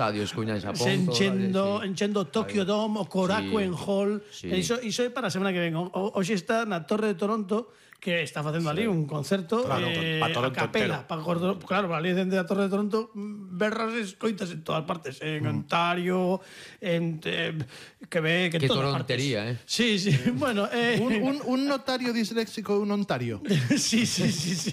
estadios que uñan Xapón. Enchendo Tokyo Dome, o Korakuen Hall. Iso é para a semana que ven. Hoxe está na Torre de Toronto, que está facendo ali un concerto a capela. Claro, ali dende a Torre de Toronto berras escoitas en todas partes. En Ontario, que torontería, Sí, bueno... un notario disléxico e un Ontario. Sí,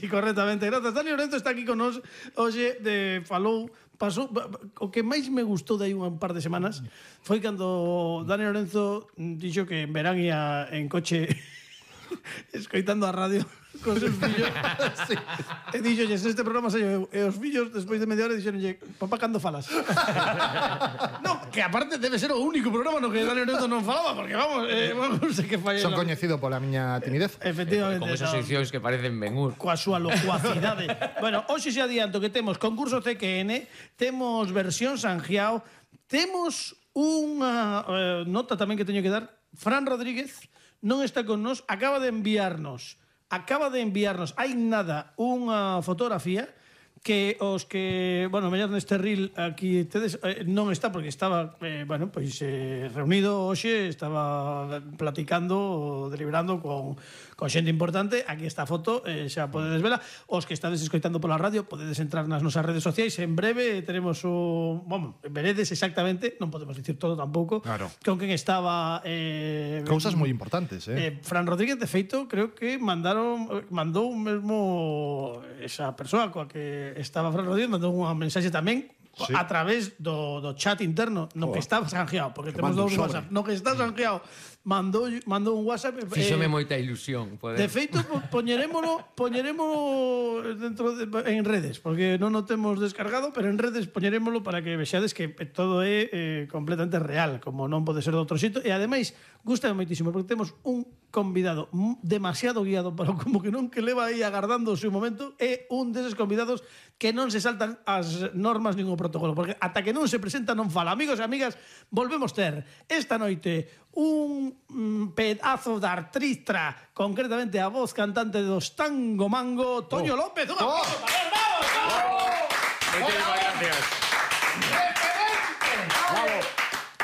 correctamente. Grazas. Dani Lorenzo está aquí con nos hoxe falou. Pasou, o que máis me gustou de aí un par de semanas foi cando Dani Lorenzo dixo que en verán ia en coche escoitando a radio con seus fillos. Sí. E dixo, este programa sei eu. E os fillos, despois de media hora, dixeronlle, papá, cando falas? No, que aparte debe ser o único programa no que Dani Lorenzo non falaba, porque vamos, non sei que falla. Son coñecido pola miña timidez. Efectivamente. Con esas seccións que parecen Ben-Hur. Coa súa locuacidade. Bueno, hoxe se adianto que temos concurso CQN, temos versión Sanjiao, temos unha nota tamén que teño que dar. Fran Rodríguez non está con nos, acaba de enviarnos hai nada unha fotografía que os que, bueno, mellor neste reel aquí tedes, non está porque estaba, bueno, pois reunido hoxe, estaba platicando, deliberando con xente importante. Aquí está a foto, xa podedes vela. Os que estades escoitando pola radio podedes entrar nas nosas redes sociais. En breve teremos veredes exactamente, non podemos dicir todo tampouco, claro, con quen estaba cousas moi importantes, Fran Rodríguez, de feito, creo que mandou mesmo esa persoa coa que estaba Fran Rodríguez, mandou unha mensaxe tamén a través do chat interno no que estaba sanjeado, porque temos dous WhatsApp, no que está sanjeado, mandou un WhatsApp. Fíxome moita ilusión. De feito, poñerémolo dentro en redes, porque non o temos descargado, pero en redes poñerémolo para que vexades que todo é completamente real, como non pode ser de outro xito. E ademais, gusta moitísimo, porque temos un convidado demasiado guiado para como que non que leva aí agardando o seu momento. É un deses convidados que non se saltan as normas nin o protocolo, porque ata que non se presenta non fala. Amigos e amigas, volvemos ter esta noite un pedazo de artista, concretamente a voz cantante dos Tango Mango, Toño López. ¡Un aplauso para él! ¡Vamos! Muchísimas gracias.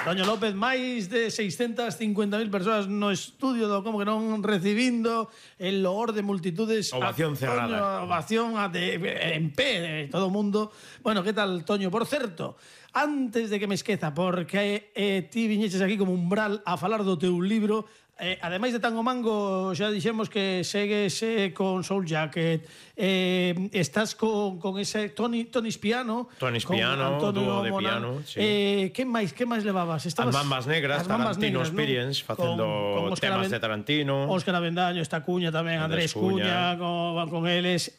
Toño López, máis de 650.000 persoas no estudio do Como que non, recibindo el loor de multitudes. Ovación cerrada. Ovación en pé de todo o mundo. Bueno, que tal, Toño? Por certo, antes de que me esqueza, porque ti viñeches aquí como umbral a falar do teu libro. Ademais de Tango Mango, xa dixemos que segues con Soul Jacket, estás con ese Tony Spiano, dúo de piano, sí. Que máis levabas? As Mambas Negras, Tarantino Experience, facendo temas de Tarantino. Óscar Avendaño, esta Cuña tamén, Andrés Cuña, con eles.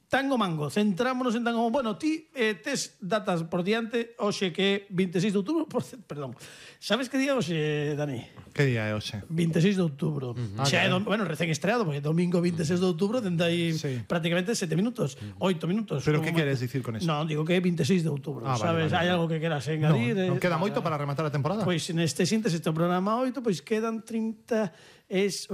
Tango Mango, centrámonos en Tango Mango. Bueno, ti tes datas por diante, hoxe que 26 de outubro, perdón. Sabes que día hoxe, Dani? Que día é hoxe? 26 de outubro. Xa é, bueno, recén estreado, porque domingo 26 de outubro tende aí prácticamente 7 minutos, 8 minutos. Pero que queres dicir con eso? Non, digo que é 26 de outubro, sabes? Hai algo que queras engadir? Non queda moito para rematar a temporada? Pois neste síntese este programa 8, pois quedan 36,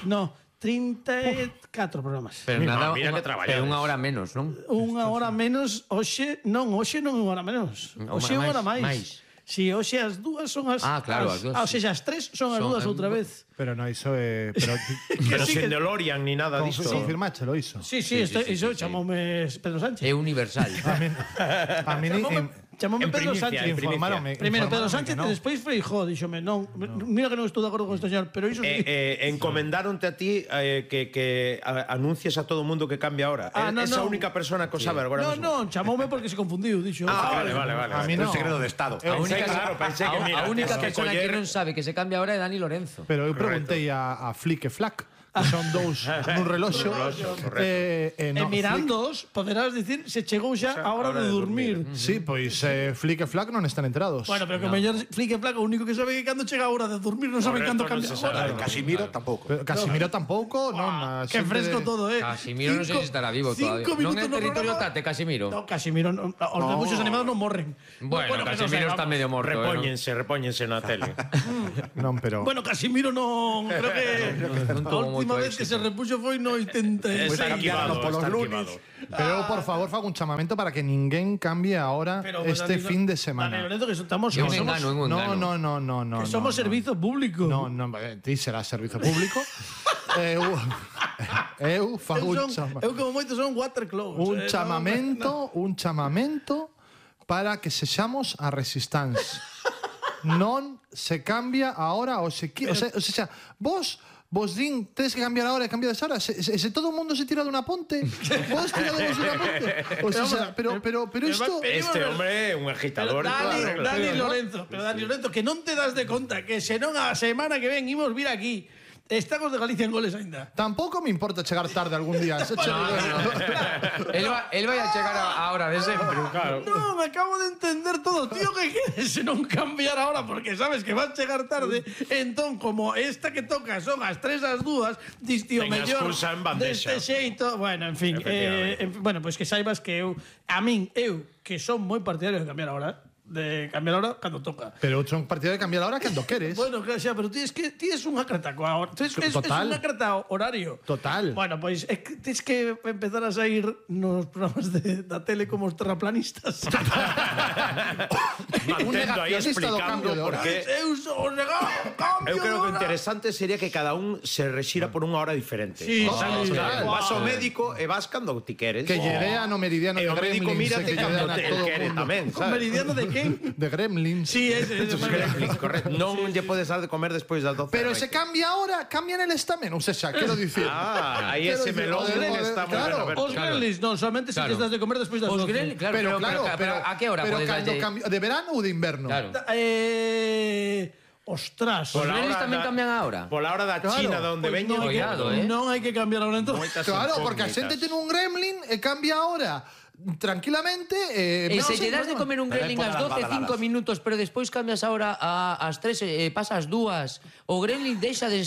no, 34 programas. Pero nada, mira que traballar. Pero unha hora menos, non? Unha hora menos, hoxe non é unha hora menos. Hoxe é unha hora máis. Si, hoxe as dúas son as... claro, as dúas. Ou seja, as tres son as dúas outra vez. Pero non, iso é... Pero sen DeLorean ni nada disto. Confirmáchelo, iso. Sí, iso chamoume Pedro Sánchez. É universal. A mí chamoume Pedro Sánchez. Primeiro Pedro Sánchez e despois Feijóo. Díxome, non, mira que non estou de acordo con este señor, pero iso sí. Encomendáronte a ti que anuncies a todo o mundo que cambia ahora. Esa única persona que o sabe agora mesmo. Non, chamoume porque se confundiu, dixo. Vale. A mí non. Un segredo de Estado. Pensei que mira. A única persona que non sabe que se cambia ahora é Dani Lorenzo. Pero eu preguntei a Flick e Flack, que son dous nun reloxo, e mirándoos poderás dicir se chegou xa a hora de dormir. Sí, pois Flick e Flack non están enterados. Bueno, pero que o mellor Flick e Flack o único que sabe que cando chega a hora de dormir non saben cando cambia a hora. Casimiro tampouco. Casimiro tampouco, non. Que fresco todo, Casimiro non sei se estará vivo todavía. Non é territorio Tate, Casimiro. No, Casimiro, os debuxos animados non morren. Bueno, Casimiro está medio morto. Repóñense na tele. Non, pero... Bueno, Casimiro non, creo que... Non tuvo última moito vez que se éxito. repuxo foi no 86. Está equivado, polos está lunes. equivado. Pero eu, por favor, fago un chamamento para que ninguén cambie ahora Pero, este Dani, fin de Dani semana. Lorenzo, que estamos... É un que somos- engano, é un engano. No. Que somos servizo público. No, ti será servizo público. eu fago Eu como moito son waterclose. un chamamento para que sexamos a resistance. Non se cambia ahora o sea, vos din, tedes que cambiar ahora e cambiades ahora. Se todo o mundo se tira dunha ponte, vos tirademos dunha ponte. O sea, pero isto... Este hombre é un agitador. Dani Lorenzo, que non te das de conta que senón a semana que ven imos vir aquí. Estamos de Galicia en goles aínda. Tampouco me importa chegar tarde algún día. El vai a chegar a hora de sempre. Claro. No, me acabo de entender todo, tío, que queres non cambiar ahora porque sabes que vas a chegar tarde. Entón, como esta que toca son as 3 as 2, dis, tío, Ten mellor excusa en bandexa. deste xeito. Bueno, en fin, bueno, pois que saibas que eu que son moi partidario de cambiar ahora, cando toca. Pero outro un partido de cambiar ahora cando queres. Bueno, claro, xa, pero tienes un acrataco ahora. Es un acratao horario. Total. Bueno, pois tens que empezar a sair nos programas da tele como os terraplanistas. Mantendo aí negacionista do explicando cambio de por hora. qué. Eu sou negado, cambio Eu creo de que o hora. interesante sería que cada un se rexira por unha hora diferente. Sí, Sabes? sí, Claro, sí. vas ao médico e vas cando ti queres. Que lle dea no meridiano E de o médico Gremlins. mírate que lle cando dean a te todo o quere mundo. tamén, ¿Un sabes? meridiano de quen? De Gremlins. Sí, ese. Correcto. Non lle podes dar de comer despois das 12. Pero se cambia ahora, cambia neles tamén. Ou seja, quero dicir... Aí ese melón está moi ben aberto. Os gremlins, non, solamente se Claro. les das de comer despois das Os 12. Gremlins, claro, pero a que hora pero podes cando darlle? cambio, de verano ou de inverno? Claro. Ostras. Os Gremlins tamén cambian a hora. Pola hora da Claro. China de onde Pois veñen. Cuidado, non hai que cambiar ahora entón. Claro, porque a xente ten un gremlin e cambia ahora tranquilamente. E se lle das de comer un gremlin ás 12, 5 minutos. minutos, pero despois cambias a hora ás 3, pasas 2, o gremlin deixa de...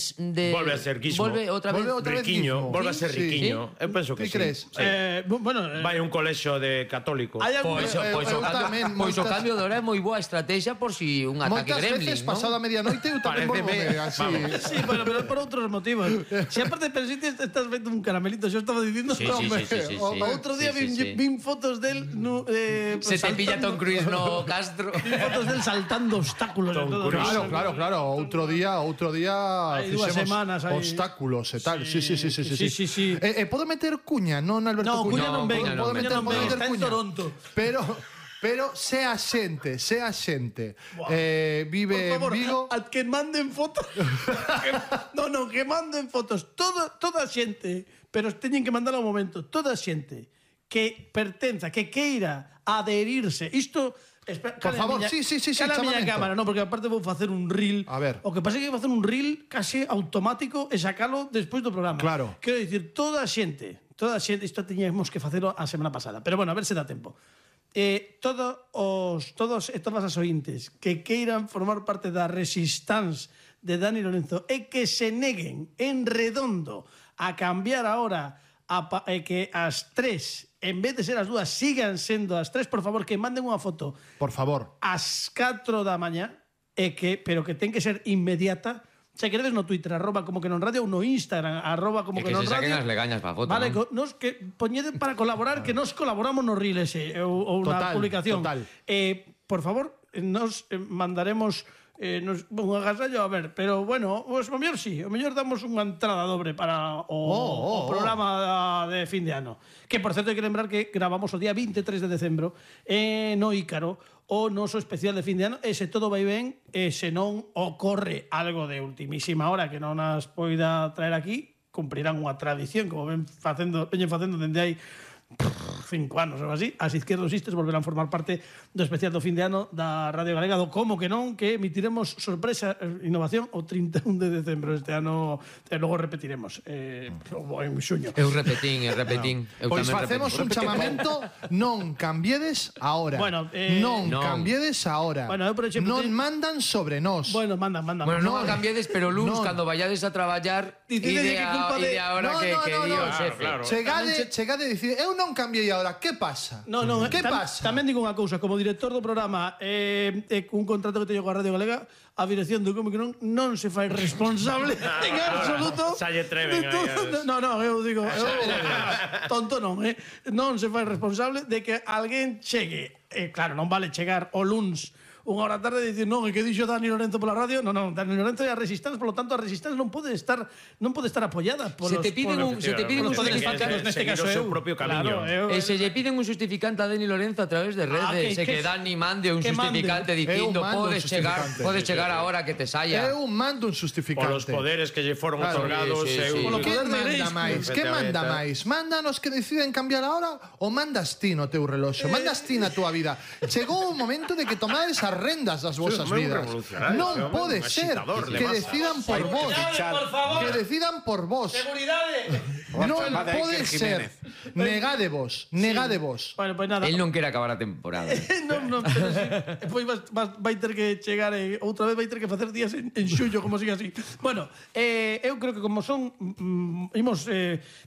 Volve a ser guismo. Volve outra vez. Volve outra vez Riquiño, guismo. volve a ser Sí. riquiño. Eu penso que Que sí. crees? Sí. Vai Vai a un colexio de católicos. Hai algún Pois o tamén, cambio moitas- de hora é moi boa estrategia por si un ataque Moitas gremlin, veces non? pasado a medianoite eu tamén Paréceme- volvo así. Sí, bueno, pero por outros motivos. Se aparte pensiste estás vendo un caramelito, yo estaba dicindo, Sí, sí, sí, sí, sí, o sí. outro día Sí, sí, sí. vin fotos del Se te pilla Tom Cruise no Castro. Vin fotos del saltando obstáculos e todo. Claro, claro. Outro día Hai dúas fixemos semanas aí. obstáculos e tal. Sí. Sí. Podo meter cuña, non Alberto No, Cuña non ven, Podo Cuña non ven, está en cuña. Toronto. Pero sea xente, vive Por favor, en Vigo. que manden fotos. Que manden fotos. Toda xente, pero teñen que mandar ao momento, toda xente que pertenza, que queira adherirse. Isto Por favor, sí, cala a miña chamamento. cámara, non, porque aparte vou facer un reel. A ver. O que pasa é que vou facer un reel case automático e sacalo despois do programa. Claro. Quero dicir, toda a xente, isto teñemos que facelo a semana pasada, pero bueno, a ver se dá tempo. Todas as ointes que queiran formar parte da resistance de Dani Lorenzo e que se neguen en redondo a cambiar ahora que as 3 en vez de ser as 2 sigan sendo as 3, por favor, que manden unha foto Por favor. ás 4 da mañá pero que ten que ser inmediata. Se queredes no Twitter, @como que non radio, ou no Instagram, @como E que que non se saquen radio. as legañas pa foto, Vale, non? nos que poñede para colaborar, que nos colaboramos no reel ese ou na Total, publicación. total. Por favor, nos mandaremos un agasallo, a ver, pero bueno, pues o mellor sí, o mellor damos unha entrada dobre para o programa de fin de ano. Que, por certo, hai que lembrar que gravamos o día 23 de decembro no Ícaro, o noso especial de fin de ano, e se todo vai ben, e se non ocorre algo de ultimísima hora que non as poida traer aquí, cumprirán unha tradición, como veñen facendo dende hai 5 anos ou así, as izquierdosistas volverán formar parte do especial do fin de ano da Radio Galega do Como que non, que emitiremos sorpresa innovación o 31 de decembro este ano, e logo repetiremos en xuño. Eu repetín. Eu Pois tamén facemos un repetín. chamamento, non cambiedes ahora. Bueno, non non. cambiedes ahora. Bueno, eu, por exemplo, non mandan sobre nós. Bueno, manda. Bueno, non a cambiades, pero luns, Non. cando vayades a traballar, Dicide ide que culpa de- a hora No, que no, di o no. xefe. Claro. Chegade e dicir, eu non cambiei a ahora. ¿Qué pasa? ¿Qué pasa? Tamén digo unha cousa, como director do programa un contrato que teño coa Radio Galega, a dirección do Cómic non se fai responsable en absoluto. Xa lle treven aí. No, eu digo, tonto non, non se fai responsable de que alguén chegue. Claro, non vale chegar o luns unha hora tarde e dicir, non, é que dixo Dani Lorenzo pola radio. Non, Dani Lorenzo é a Resistance, por lo tanto a Resistance non pode estar apoiada polos... Se te piden un justificante, neste caso eu. Seu propio camiño. E se lle piden un justificante a Dani Lorenzo a través de redes, que Dani mande un justificante dicindo podes chegar a hora que te saia. Eu mando un justificante. Polos poderes que lle foron otorgados. Que manda máis? Que manda máis? Mándanos que deciden cambiar a hora ou mandas ti no teu reloxo? Mandas ti na túa vida? Chegou o momento de que tomades as rendas das vosas vidas. Non pode ser que decidan por vos. Que decidan por vos. Seguridade. Non pode ser. Negadevos. Bueno, pues nada. El non quere acabar a temporada. Non, pero sí. Pois vai ter que chegar outra vez, vai ter que facer días en xullo, como siga así. Bueno, eu creo que como son imos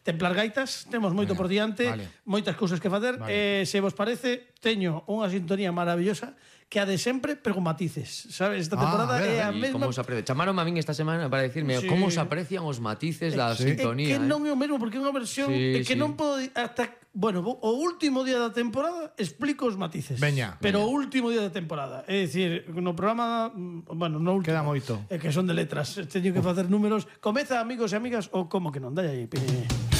templar gaitas, temos moito por diante, moitas cousas que facer. Se vos parece, teño unha sintonía maravillosa que a de sempre, pero con matices, sabes? Esta temporada é a mesma... Chamaron a min esta semana para decirme como se aprecian os matices da sintonía. É que non é o mesmo, porque é unha versión que non podo... Bueno, o último día da temporada explico os matices. Pero o último día da temporada. É dicir, no programa... Bueno, no último. Queda moito. É que son de letras. Teño que facer números. Comeza, amigos e amigas, ou como que non? Dai aí, pide.